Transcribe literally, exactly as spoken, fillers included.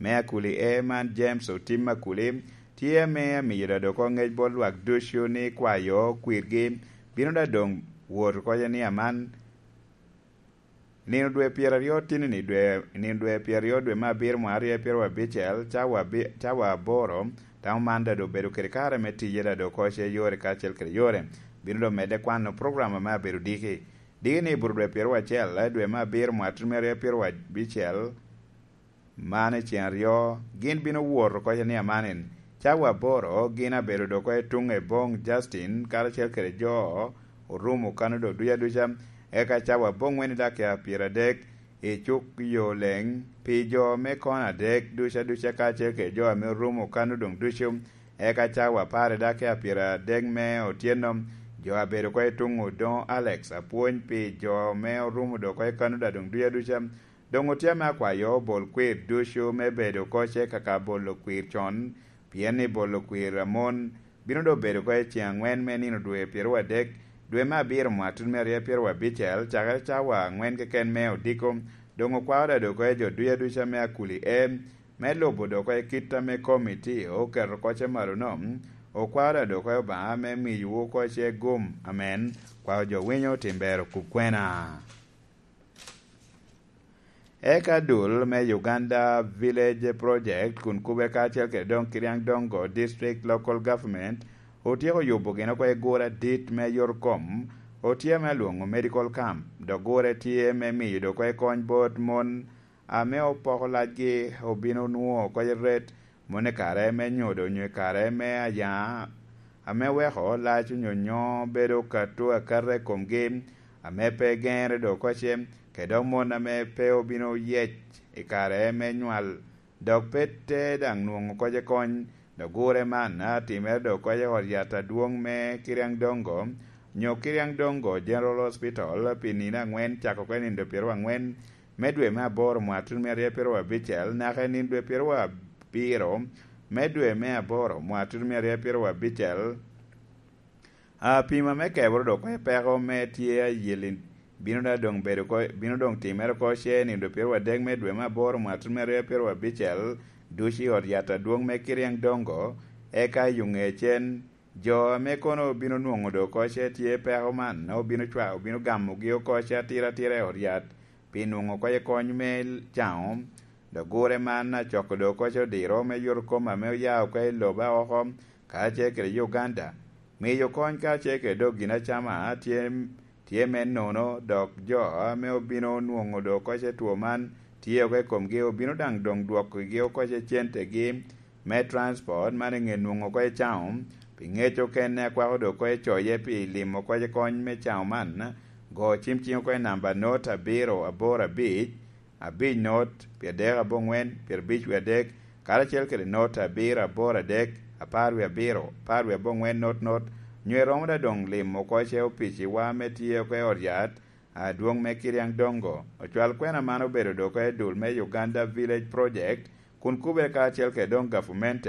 me Akuli E man James Otim Akuli tye ame amiyo da dok ŋec bot lwak ducu ni kwayo kwirgi bino da doŋ wot oko ni aman. Nino dwe pyeraryo tinni dwe nino dwe pyeraryo dwe me abiro mwaka aryo pyeraryo abicel cawa abi- cawa aboro. Tamo man da doŋ obedo kede kare me tiye da dok oko ce yore kacel kede yore. Bino doŋ medde kwano program ame abedo diki diki ni iburo dwe pyeraryo acel dwe me abiro mwaka tutumere pyeraryo abicel. Man i cen aryo gin bino wot oko ni amanin. Cawa aboro gin abedo dok oko i tuŋ i boŋ Justin karacel kede jo orumo kano dok duca duca. Eka cawa aboŋwen i dakika pyeradek i cuk yo leŋ pi jo me kono adek duca duca kacel kede jo ame orumo kano doŋ ducu. Eka cawa apar i dakika pyeradek me otyeno jo abedo oko i tuŋ odoŋo Alex apwony pi jo me orumo dok oko i kano da doŋ duca duca. Doŋ otye ame akwayo bol kwir ducu me bedo oko ce kaka bolo kwir con, pien ni bolo kwir amon bino doŋ bedo oko i ceŋ aŋwen me nino dwe pyeraryo adek dwe me abiro mwaka tutumere pyeraryo abicel cakere cawa aŋwen keken me odiko. Doŋ okwao da dok oko i jo duca duca me Akuli E me lubo dok oko i kit ame komiti oketo oko ce malo no. Okwao da dok oko i Obaŋa me miyowu oko ce gum. Amen. Kwao jo winyo tim ber okub kwena. Eka dul me Uganda Village Project kun kube kacel kede doŋ Kiriang Dongo District Local Government otyeko yubo gin oko i gure adit me yorkom otye ame alwoŋo medical camp dok gure tye me miyo dok oko i kony bot mon ame opoko lacgi obino nwoŋo oko i ret mon i kare me nyodo onyo i kare me ayaŋa ame weko lac onyo nyo bedo kato akata i komgi ame pe geŋere dok oko ce kede mon ame pe obino yec i kare me nywal dok pe te daŋ nwoŋo oko ce kony. Dok gure man atimere dok oko ce ot yat adwoŋ me Kiriang Dongo nyo Kiriang Dongo General Hospital pi nino aŋwen cako oko i nino pyeraryo aŋwen me dwe me aboro mwaka tutumere pyeraryo abicel naka i nino dwe pyeraryo abiro me dwe me aboro mwaka tutumere pyeraryo abicel. Apima me keboro dok oko i peko me tye ayeli bino da doŋ bedo oko bino doŋ timere oko ce nino dwe pyeraryo adek me dwe me aboro mwaka tutumere pyeraryo abicel ducu i ot yat adwoŋ me Kiriang Dongo eka i ŋe cen jo ame kono obino nwoŋo dok oko ce tye peko man obino cwa obino gamogi oko ce atira atira i ot yat pi nwoŋo oko ce kony me caŋo. Dok gure man acoko dok oko ce odiro me yot kom ame oya oko i lobo aoko kacel kede Uganda. Miyo kony kacel kede dok gin acama tye tye me nono dok jo ame obino nwoŋo dok oko ce two man tye oko i komgi obino daŋ doŋ dwokogi oko ce centegi me transport man i ŋe nwoŋo oko i caŋo pi ŋec okene akwako dok oko i coye pi limo oko i kony me caŋo man. Go cim ciŋ oko i namba not abiro aboro abic abic not pyadek aboŋwen pyerabic wie adek karacel kede not abiro aboro adek apar wie abiro apar wie aboŋwen not not nyo iromo da doŋ limo oko ce opiciwa me tye oko i ot yat adwoŋ me Kiriang Dongo. Ocwal kwena man obedo dok oko i dul me Uganda Village Project kun kubere karacel kede doŋ gavumente